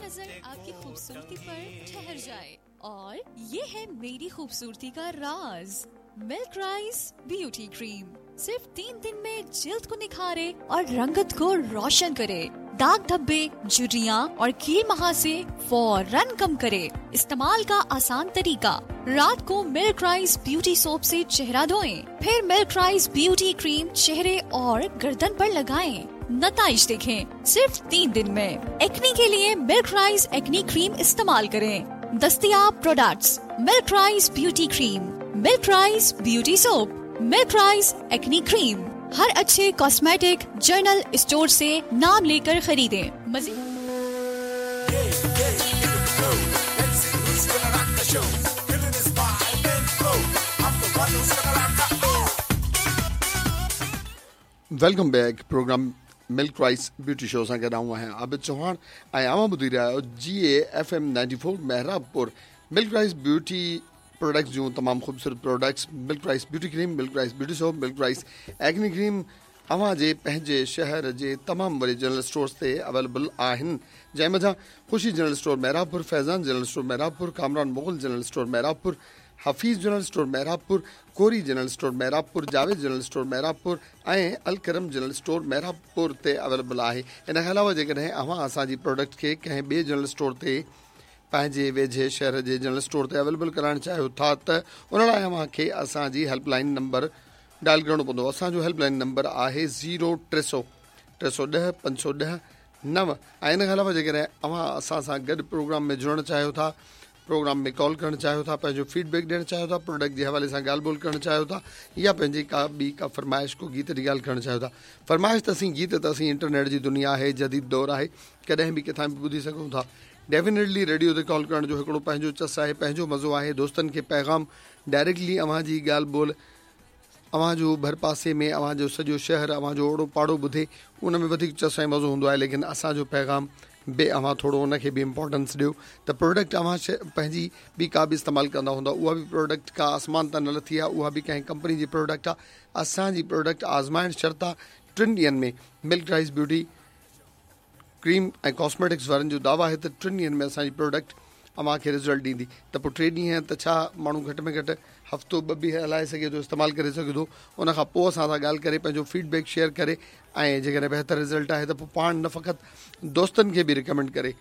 नजर आपकी खूबसूरती पर ठहर जाए। और ये है मेरी खूबसूरती का राज, मिल्क राइस ब्यूटी क्रीम। सिर्फ 3 दिन में जिल्द को निखारे और रंगत को रोशन करे, दाग धब्बे, झुर्रियाँ और कील महासे फौरन कम करे। इस्तेमाल का आसान तरीका, रात को मिल्क राइस ब्यूटी सोप से चेहरा धोएं, फिर मिल्क राइस ब्यूटी क्रीम चेहरे और गर्दन पर लगाएं। नताइज देखें सिर्फ 3 दिन में। एक्ने के लिए मिल्क राइस एक्ने क्रीम इस्तेमाल करें। दस्तियाब products milk rice beauty cream, milk rice beauty soap, milk rice acne cream. हर अच्छे कॉस्मेटिक जनरल स्टोर से नाम लेकर खरीदें। मजीद welcome back. Programme milk rice beauty show सां गॾु आऊं आहियां आबिद चौहान ऐं अव्हां ॿुधी रहिया आहियो जी ए F M 94 Mehrabpur. Milk rice beauty products जूं तमामु ख़ूबसूरत products, milk rice beauty cream, milk rice beauty soap, milk rice acne cream अव्हां जे पंहिंजे शहर जे तमामु वॾे जनरल स्टोर्स ते अवेलेबल आहिनि, जंहिं मंझां Khushi general store Mehrabpur, Faizan general store Mehrabpur, Kamran Mughal general store Mehrabpur, Hafeez general store Mehrabpur, Kori general store Mehrabpur, Javed general store Mehrabpur ऐं अलकरम जनरल स्टोर मेहराबपुर ते अवेलेबल आहे। इन खां अलावा जेकॾहिं अव्हां असांजी प्रोडक्ट खे कंहिं ॿिए जनरल स्टोर ते पंहिंजे वेझे शहर जे जनरल स्टोर ते अवेलेबल कराइण चाहियो था त उन लाइ अव्हांखे असांजी हेल्पलाइन नंबर डायल करिणो पवंदो। असांजो हेल्पलाइन नंबर आहे 0300 310 510 9। ऐं इन खां अलावा जेकॾहिं अव्हां असां सां गॾु प्रोग्राम में जुड़णु चाहियो था, प्रोग्राम में कॉल करणु चाहियो था, पंहिंजो फीडबैक ॾियणु चाहियो था, प्रोडक्ट जे हवाले सां ॻाल्हि ॿोल करणु चाहियो था या पंहिंजी का ॿी का फरमाइश को गीत जी ॻाल्हि करणु चाहियो था। फरमाइश त असीं गीत त असीं इंटरनेट जी दुनिया आहे, जदीद दौर आहे, कॾहिं बि किथां बि ॿुधी सघूं था। डेफिनेटली रेडियो ते कॉल करण जो हिकिड़ो पंहिंजो चस आहे, पंहिंजो मज़ो आहे। दोस्तनि खे पैगाम डायरेक्टली अव्हां जी ॻाल्हि ॿोल, अव्हांजो भरपासे में अव्हांजो सॼो शहर, अव्हांजो ओड़ो पाड़ो ॿुधे, उन में वधीक चस ऐं मज़ो हूंदो आहे। लेकिन असांजो पैगाम बि अव्हां थोरो उनखे बि इम्पोर्टेंस ॾियो त प्रोडक्ट अव्हां पंहिंजी ॿी का बि इस्तेमालु कंदा हूंदा, उहा बि प्रोडक्ट का आसमान तां न लथी आहे, उहा बि कंहिं कंपनी जी प्रोडक्ट आहे। असांजी प्रोडक्ट आज़माइण शर्त आहे 3 ॾींहनि में मिल्क राइस ब्यूटी क्रीम ऐं कॉस्मेटिक्स वारनि जो दावा आहे त 3 ॾींहनि में असांजी प्रोडक्ट अव्हांखे रिज़ल्ट ॾींदी। त पोइ 3 ॾींहं त छा माण्हू घटि में घटि हफ़्तो ॿ बि हलाए सघे थो, इस्तेमालु करे सघे थो। उन खां पोइ असां सां ॻाल्हि करे पंहिंजो फीडबैक शेयर करे ऐं जेकॾहिं बहितर रिज़ल्ट आहे त पोइ पाण न फ़क़ति दोस्तनि खे बि रिकमेंड करे।